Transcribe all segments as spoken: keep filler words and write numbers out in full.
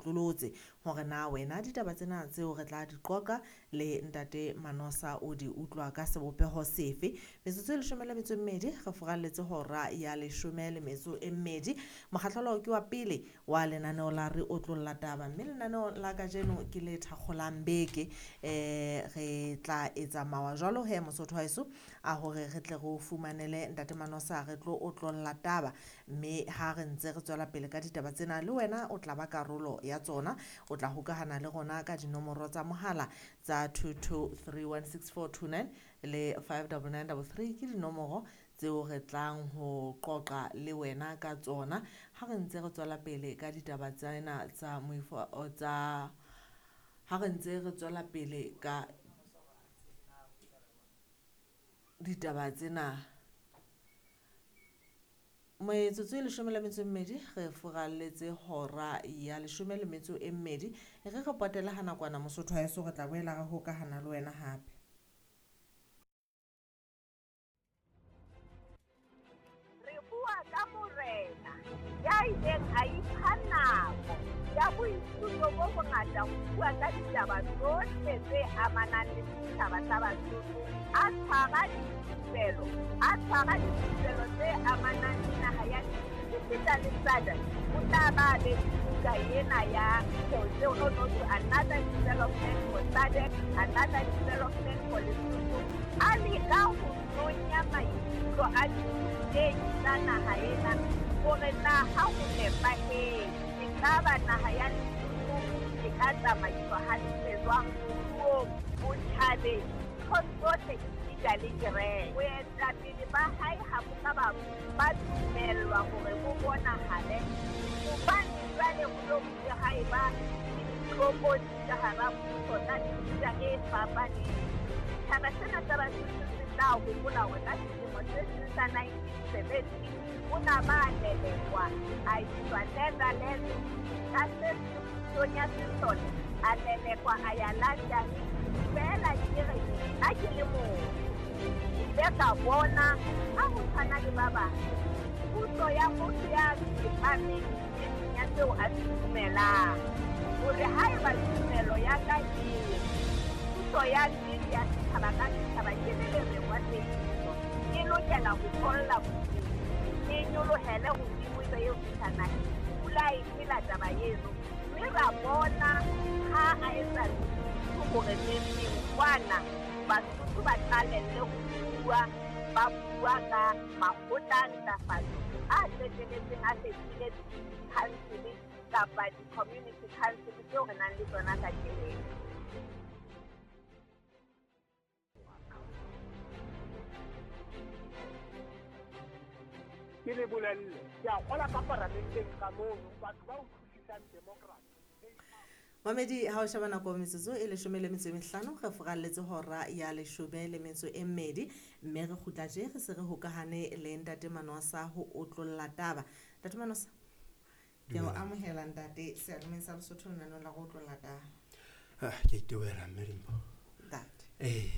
otlolotse hore na wena ditaba tsena tseo re tla di qoqa le ntate Manosa o di utlwa ka sebopeho sefe. Metsotso e leshome le metso e mmedi re furalletse hora ya leshome le metso e mmedi. Mokgahlelo ke wa pele wa lenaneo la re otlolla taba, mme lenaneo la kajeno ke le thakgolang beke. Eh re tla etsa mawa jwalo he Mosotho wa heso a hore re tle re o fumanele ntate Manosa re tlo otlolla taba, mme ha re ntse re tswela pele ka ditaba tsena le wena o tla ba karolo ya tsona. O tla hokahana le rona ka dinomoro tsa mohala tsa two two three one six four two nine le five double nine double three ke dinomoro tseo re tlang ho qoqa le wena ka tsona ha re ntse re tswela pele ka ditaba tsena tsa moifo tsa ha re ntse re tswela pele ka ditaba tsena. Metsotso e leshome le metso e mmedi re furalletse hora ya leshome le metso e mmedi. E re re potele ha nakwana Mosotho wa heso, re tla boela re hokahana le wena hape. Re bua ka morena ya ileng a ipha nako ya boithuto bo bongata ho bua ka ditaba tsohle tse amanang le setjhaba sa Basotho, a tshwara dithupelo, a tshwara dithupelo tse amanang le naha ya esita le S A D C. O tla ba be buka ena ya tseo no no to another development for S A D C, another development for Lesotho. A leka ho nonya maikutlo a dithutehi tsa naha ena hore na ha ho nepahetse ekaba naha ya Lesotho e ka tsamaiswa hantle jwang moruong, botjhabeng, nthong tsohle esita le kereke. Boetapele ba hae ha bo ka ba ba dumellwa hore bo bonahale hobane jwale ho lo bile ha eba le ditlokotsi ka hara puso tsa mefuta e fapaneng. Setjhaba sena sa Basotho se tla hopola hore ka selemo se seng sa nineteen seventy o na ba lelekwa a iswa Netherlands ka se pusong ya sesole, a lelekwa a ya London. Feela ke re nna ke le motho ke ile ka bona ha ho tshwana le ba bang puso ya motho ya tsepameng e seng ya seo a se dumelang, hore haeba tumelo ya ka e puso ya nnete ya setjhaba ka setjhaba ke le lereng wa tsebiso e lokela ho tholla bodimo, e nyolohele hodimo ebe eo fihla naheng. Pula e phela taba eno, mme ra bona ha a etsa hore neng kwana Basotho ba qalelle ho bua, ba bua ka makgotla a ntlafatso a qetelletseng a fetohile di-council kapa di-community council tseo re nang le tsona kajeno. Ke le bolelle, ke a kgola ka paramenteng ka mono batho ba utlwisisang democracy. Mamedi, ha o sheba nako metsotso e leshome le metso e mehlano re furalletse hora ya leshome le metso e mmedi, mme re kgutla tje re se re hokahane le ntate Manosa ho otlolla taba. Ntate Manosa, ke o amohela ntate seyalemoyeng sa Lesotho lenaneong la go otlolla taba. Ah, ke itewela mme Dimpho. Ntate. Eh.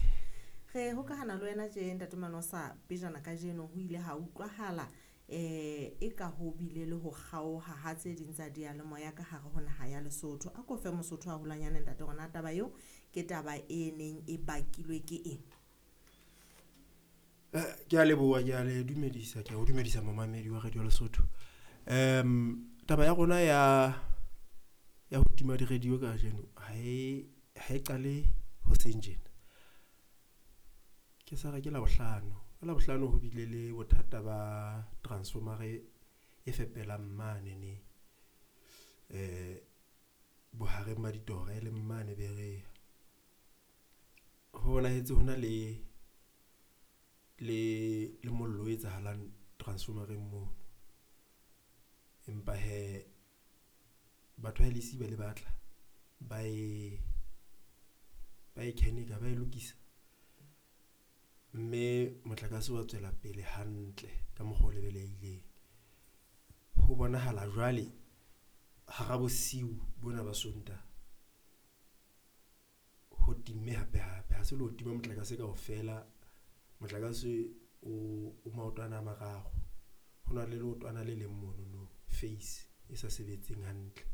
Re hokahana le wena tje ntate Manosa, pejana kajeno ho ile ha utlwahala eh e ka ho bile le ho kgaoha ha tse ding tsa diyalemoya ka hare ho naha ya Lesotho. A ko fe Mosotho haholwanyane ntate hore na taba eo ke taba e neng e bakilwe ke eng? Eh, ke a leboha, ke a le dumedisa, ke a o dumedisa momamedi wa Radio Lesotho. Em taba ya rona ya ya ho tima di-radio kajeno ha e ha e qale hoseng tjena. Ke sa re ke Labohlano. Ka Labohlano ho bile le bothata ba transformer e fepelang mane ne eh bohareng ba ditora e leng mane Berea. Ho bonahetse hona le le le mollo o etsahalang transformereng mono. Empa he batho ba L E C ba le batla ba e ba e kenika ba e lokisa, mme motlakase wa tswela pele hantle ka mokgwa o lebelehileng. Ho bonahala jwale hara bosiu bona ba Sontaha ho timme hape hape, ha se le ho tima motlakase kaofela. Motlakase o o maotwana a mararo, ho na le leotwana le leng mono no face e sa sebetseng hantle.